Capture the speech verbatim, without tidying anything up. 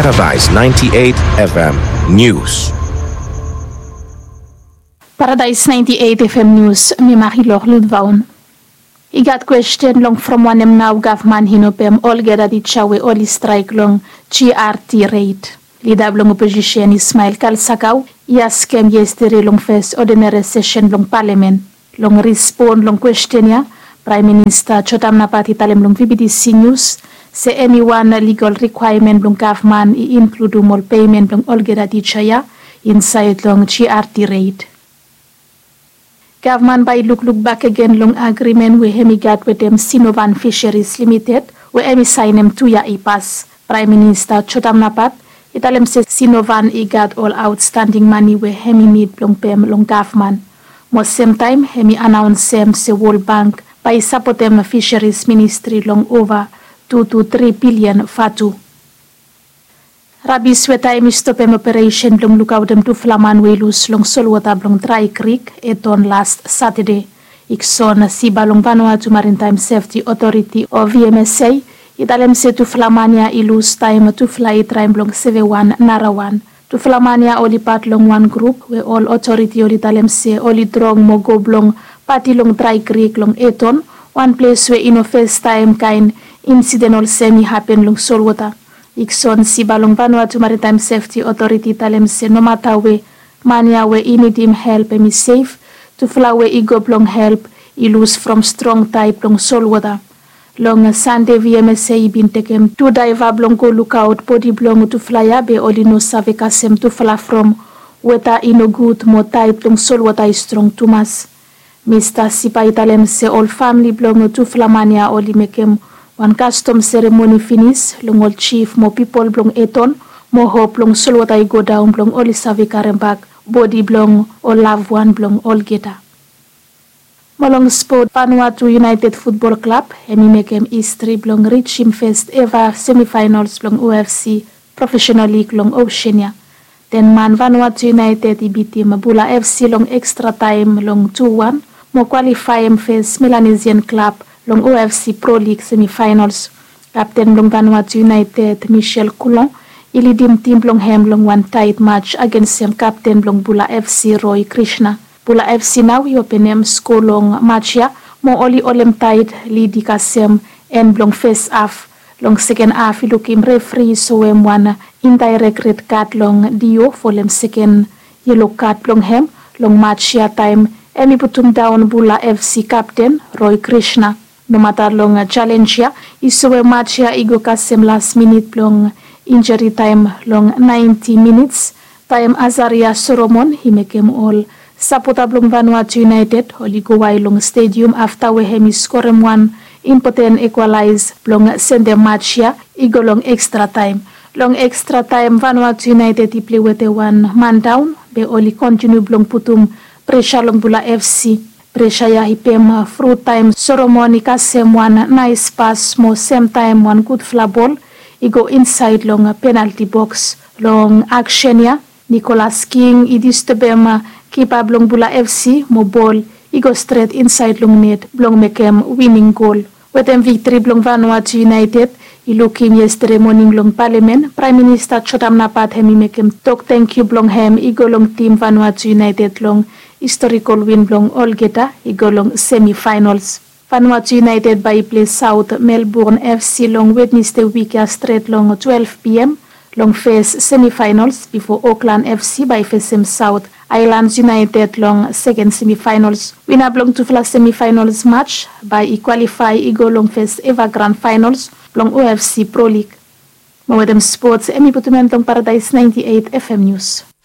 Paradise ninety-eight F M News. Paradise ninety-eight F M News, mi Marilor Ludvaun. I gat kwesten long from wanem nao gavman i no pem olgeta tija we oli straek long G R T reit. Lida blong oposisen Ismael Kalsakau i askem yestede long fes odinere sesen blong palamen. Long rispon long kwesten ya, Praem Minista Jotam Napat i talem long V B T C News se eniwan ligol rikwaemen blong gavman i inkludum ol pemen blong olgeta tija ya insaed long G R T reit. Gavman bae i lukluk bakegen long agrimen we hem i gat wetem Sinovan Fisheries Limited we hem i saenem tu yia i pas. Praem Minista Jotam Napat i talem se Sinovan i gat ol aotstanding mane we hem i nid blong pem long gavman. Mo semtaem hem i anaonsem se Wol Bank bae i sapotem Fisheries Ministri long ova tu tu tri bilian vatu. Rabis we taem i stopem operesen blong lukaotem tufala man we i lus long solwota blong Drae Krik Eton las Satade. Ikson Siba long Vanuatu Marintaem Sefti Otoriti o V M S A i talem se tufala man ya i lus taem tufala i traem blong sevewan narawan. Tufala man ya oli pat long wan grup we ol otoriti oli talem se oli drong mo go blong pati long Drae Krik long Eton, wan ples we i no festaem kaen insiden olsem i hapen long solwota. Ikson Siba long Vanuatu Maritime Sefti Otoriti i talem se nomata we man ya we i nidim help hem i sef, tufala we i go blong help i lus from strong taed blong solwota. Long Sande V M S A i bin tekem tu daeva blong go lukaot bodi blong tufala ya be oli no save kasem tufala from weta i nogud mo taed blong solwota i strong tumas. Mista Siba i talem se ol famle blong tufala man ya oli mekem wan kastom seremoni finis long ol jif mo pipol blong Eton mo hop blong solwota i godaon blong oli save karembak bodi blong ol lavwan blong olgeta. Mo long spot, Vanuatu United Futbol Klab hem i mekem histri blong rijim fes eva semifaenals blong O F C profesenal lig long Osean ya. Ten man Vanuatu United i bitim Bula F C long ekstra taem long tu wan mo kwalifaem fes Melanesian klab long O F C Pro Lig semifaenals. Kapten blong Vanuatu United, Michel Coulon, i lidim tim blong hem long wan taet maj agensem kapten blong Bula F C, Roy Krishna. Bula F C nao i openem sko long maj ya mo oli holem taet lid i kasem en blong fes haf. Long seken haf i lukim refri i soem wan indaerek red kad long Dio folem seken yelo kad blong hem long maj ya taem hem i putumdaon Bula F C kapten Roy Krishna. Nomata long jalenj ya i soem maj ya i go kasem las minit blong injari taem long naenti minits taem Azaria Solomon i mekem ol sapota blong Vanuatu United oli go wael long stedium afta we hem i skorem wan impoten ekwalaes blong sendem maj ya i go long ekstra taem. Long ekstra taem Vanuatu United i plei wetem wan man daon be oli kontiniu blong putum presa long Bula F C. Presa ya i pem fru taem Solomon i kasem wan naes pas mo semtaem wan gudfala bol i go insaed long penalti boks. Long aksen ya Nicholas King i distebem kipa blong Bula F C mo bol i go stret insaed long net blong mekem wining gol. Wetem viktri blong Vanuatu United i lukim yestede moning long palamen, Praem Minista Jotam Napat hem i mekem tok tangkiu blong hem i go long tim Vanuatu United long historikol win blong olgeta i go long semifaenals. Vanuatu United bae i plei Saot Melbourne F C long Wednesde wik ya stret long twelef P M. Long fes semifaenals bifo Auckland F C bae i fesem Saot Aelands United long seken semifaenals. Wina blong tufala semifaenals maj bae i kwalifae i go long fes eva gran faenals blong O F C Pro Lig. Mo wetem spots hem i putum en long Paradaes naenti eit F M Nius.